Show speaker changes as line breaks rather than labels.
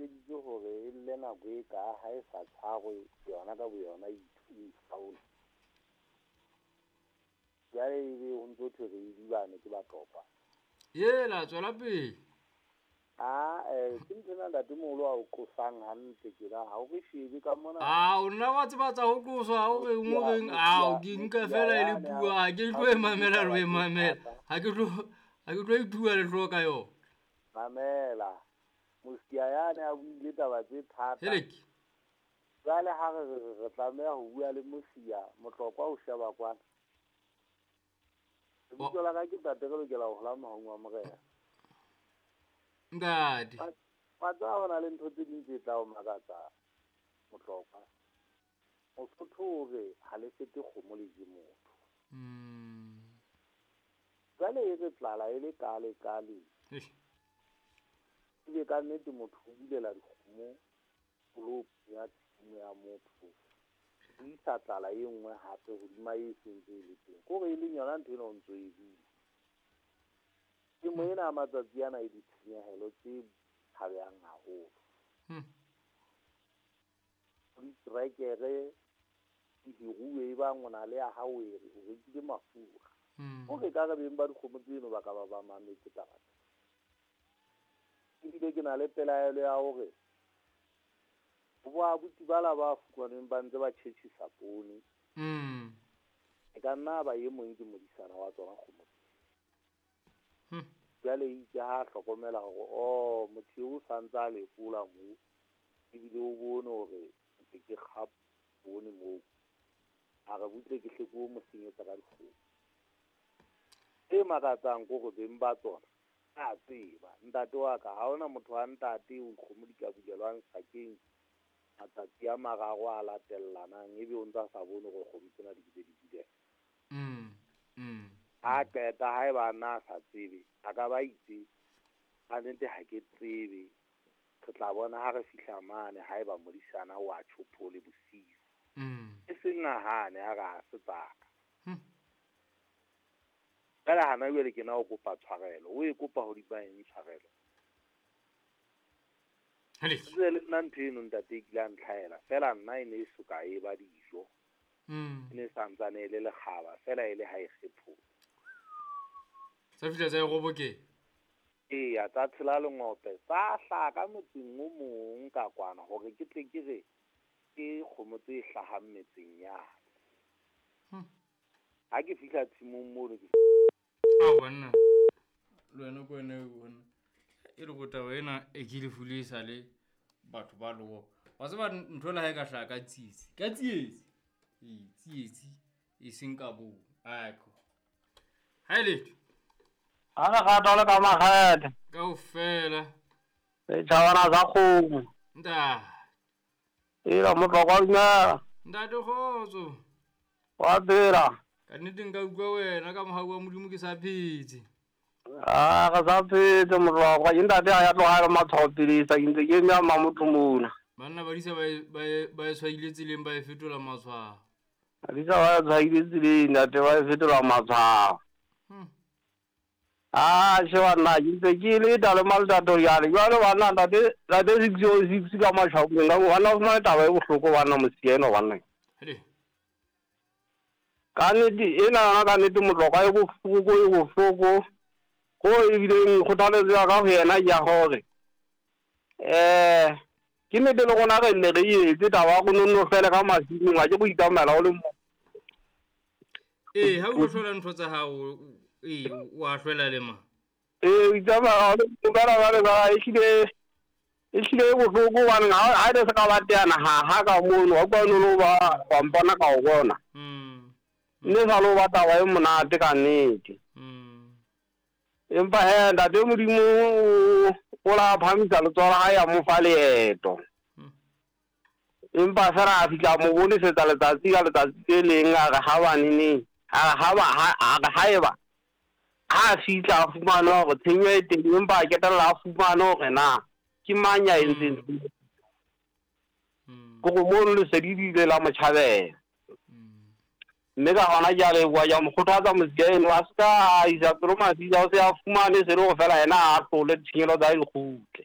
iketseditse hore e lle nako e ka ha e sa tshwarwe yona ka boyona e itlhaole. Jwale ebe ho ntso thwe re idibane ke Batlokwa.
Yela tswela pele.
Ah, ke ntho ena ntatemoholo a o qosang hantle tjena, ha o re shebe ka mona.
Ao nna wa tseba tsa ho qoswa ha o reng o reng ao ke nka fela e le puo ha ke tlo e mamela le ho e mamela. Ha ke tlo ithuwa le ka yona.
Mamela. Mosia yane a buile taba tse thata.
Helek.
Jwale ha re re re tlameha ho bua le Mosia, Motlokwa o sheba kwana. Lebitso la ka ke ntate re lokela ho hola mohaung wa Morena.
Ntate.
Wa tseba ho na le ntho tse ding tse tla o makatsa Motlokwa. Mosotho o re ha le fete kgomo le je motho. Jwale e re tlala e le kale kale. Ebe ka nnete motho o bulela dikgomo polopo ya tshimo ya motho. O isa tlala e nngwe hape hodima e sentse e le teng. Kore e leng yona ntho ena o ntso e bua. Temo ena ya matsatsi ana e ditshenyehelo tse tshabehang haholo. Diterekere di hiruwe e bang o na le ya hao o rekile mafura. Hore ka re beng ba dikgomo tseno ba ka ba ba mametse taba tsena. Ebile ke na le pelaelo ya hore bo abuti bala ba fumanweng ba ntse ba tjhetjhisa poone. E ka nna ba e mong ke modisana wa tsona kgomo. Jwale itse ha hlokomela hore oh motho eo o santse a lekola moo ebile o bone hore ntse ke kga poone moo. A re butle ke hle ke o mo senyetsa ka dikgomo. E makatsang ke hore beng ba tsona a tseba ntate wa ka ha hona motho wa ntate o kgomo di ka bulelwang sakeng matsatsi a mararo a latellanang ebe o ntsa sa bone hore kgomo tsena di bile di bulela. Ha qeta haeba nna a sa tsebe a ka ba itse ka nnete ha ke tsebe re tla bona ha re fihla mane haeba modisana wa tjhophole bosiu. E seng a hane a re ha se tsaka. Jwale hana jwale ke na o kopa tshwarelo, o e kopa hodima eng tshwarelo? Tsebe le nna ntho eno ntate e kile ya ntlhahela fela nna e ne e soka e ba dijo. E ne santsane e le lekgaba fela e le ha e kgephola.
Tsa fihla tsa e robokela.
Eya tsa tshela lengope tsa hlaha ka motseng o mong ka kwana hore ke tle ke re ke kgomo tse hlahang metseng yane. Ha ke fihla tshimong mono ke
Ao banna. Le wena ko wena bona. E le go taba ena e ke lefu le sa le batho ba loa. Wa tseba ntho le ha e ka hlaha ka tsietsi. Ka tsietsi. Ee, tsietsi e seng ka bo. Aiko. Ha e letho.
Ha re rata le ka makgethe.
Kaofela.
Setjhabana sa kgomo.
Ntate.
Ela Motlokwa dumela.
Ntate kgotso.
Wa phela.
Ka nnete nka utlwa wena ka mohau wa Modimo ke sa phetse.
Ah, re sa phetse Motlokwa. Ke ntate a ya tloha le matshwao pidisa ke ntse ke eme a motho mona.
Banna badisa ba e tshwaile tseleng ba e fetola matshwao.
Badisa ba e tshwaile tseleng ntate ba e fetola matshwao. Ah, sheba nna ke ntse ke leta le maletato jale. Jwale banna ntate ntate 606 ka mashaong ka banna o fumane taba e bohloko banna mosia eno banna.
Hele.
Ka nnete ena yona ka nnete Motlokwa e bohloko e bohloko. Ho ebileng kgothaletso ya ka ho yena ke ya hore ke nnete le rona re nne re etse taba ya go nonno fele ka masimong ha ke go itsamaela o le mong.
Ee, ha o tlo hlola ntho tsa hao ee wa hlwela le ma.
Ee, o itsamaya o le mong kana jwale ba ehlile ehlile e bohloko hobane ha e se ka ba teana ha ha ka mono wa utlwa no ba wa mpona ka o bona. Mme sa lo ba taba e monate ka nnete. Empa he ntate Modimo o la phamisa letsoho la hae a mo fa leeto. Empa fela a fihla mo bonesetsa letsatsi ka letsatsi le leng a re ha ba neneng a re ha ba a re haeba ha a fihla a fumane hore tshenyo e teng empa a ketella a fumane hore na ke mang ya entseng kore mono lesedi le ile la mo tjhabela. Mme ka hona ke a leboha ke a mo kgothatsa mosia eno a se ka a isa pelo mafika o se a fumane se le hore fela yena a hlole ditshenyehelo tsa hae di kgutle.